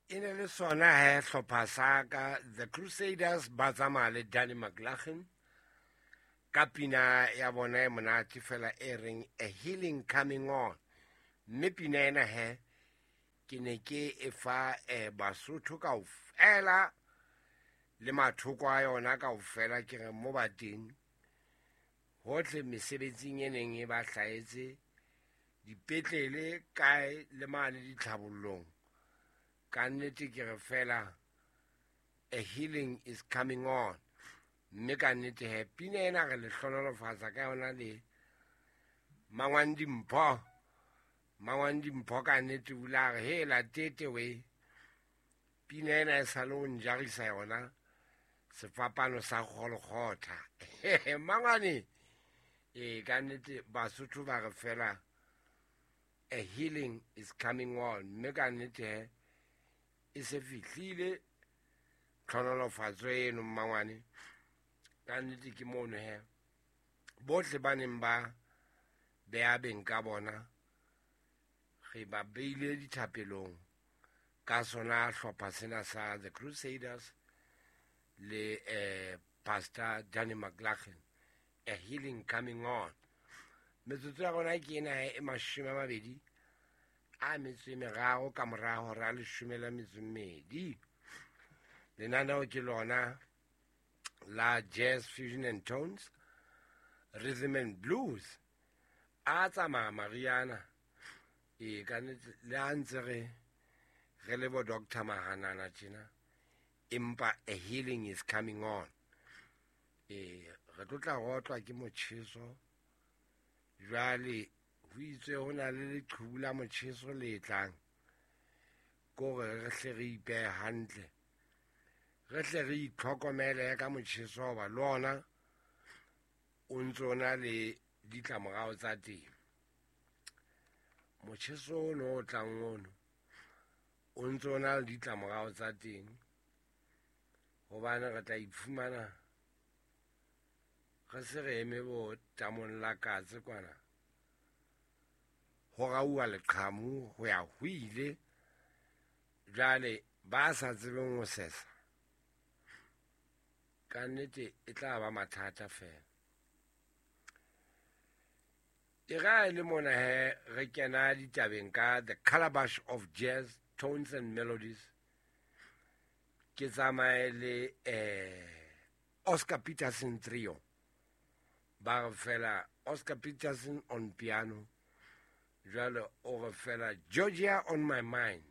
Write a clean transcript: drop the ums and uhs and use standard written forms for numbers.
E ne le sona he hlopha sa ka The Crusaders ba tsamaya le Danny McLaughlin ka pina ya bona e monate fela e reng A Healing Coming On. Mme pina ena he ke ne ke e fa Basotho kaofela le mathoko a yona kaofela, ke re mo ba teng hohle mesebetsing e neng e ba hlahetse dipetlele kae le mane ditlhabollong. Ka nnete ke re fela a healing is coming on. Mme ka nnete he pina ena re le hlonolofatsa ka yona le Mangwang Dimpho. Mangwang Dimpho ka nnete o ile a re hela tete we, pina ena e sale o njarisa yona sefapano sa Golgotha. Mangwane e ka nnete Basotho ba re fela a healing is coming on. Mme ka nnete he e se fihlile tlhonolofatso eno mmangwane. Ka nnete ke mono he bohle ba neng ba beha beng ka bona re ba beile dithapelong ka sona hlopha sena sa The Crusaders le Pastor Danny McLaughlin, A Healing Coming On. Metsotso ya rona ke ena e 23 ka mora hora 12. Lenaneo ke lona la Jazz Fusion and Tones, Rhythm and Blues. A tsamaya Mariana e ka nnete le ha ntse re re le bo Doctor Mahanana tjena, empa a healing is coming on. E re tlo tla rotlwa ke motjheso jwale, ho itswe ho na le leqhubu la motjheso le tlang, kore re hle re ipehe hantle, re hle re itlhokomele ka motjheso hoba le ona o ntso o na le ditlamorao tsa teng. Motjheso ono o tlang ono o ntso o na le ditlamorao tsa teng, hobane re tla iphumana re se re eme bo tamong la katse kwana, ho rauwa leqhamu ho ya ho ile. Jwale ba sa tsebeng ho sesa ka nnete e tla ba mathata fela. E ra le mona he re kena ditabeng ka The Calabash of Jazz, Tones and Melodies. Ke tsamaye le Oscar Peterson Trio. Ba re fela Oscar Peterson on piano, jwale o re fela Georgia on my mind.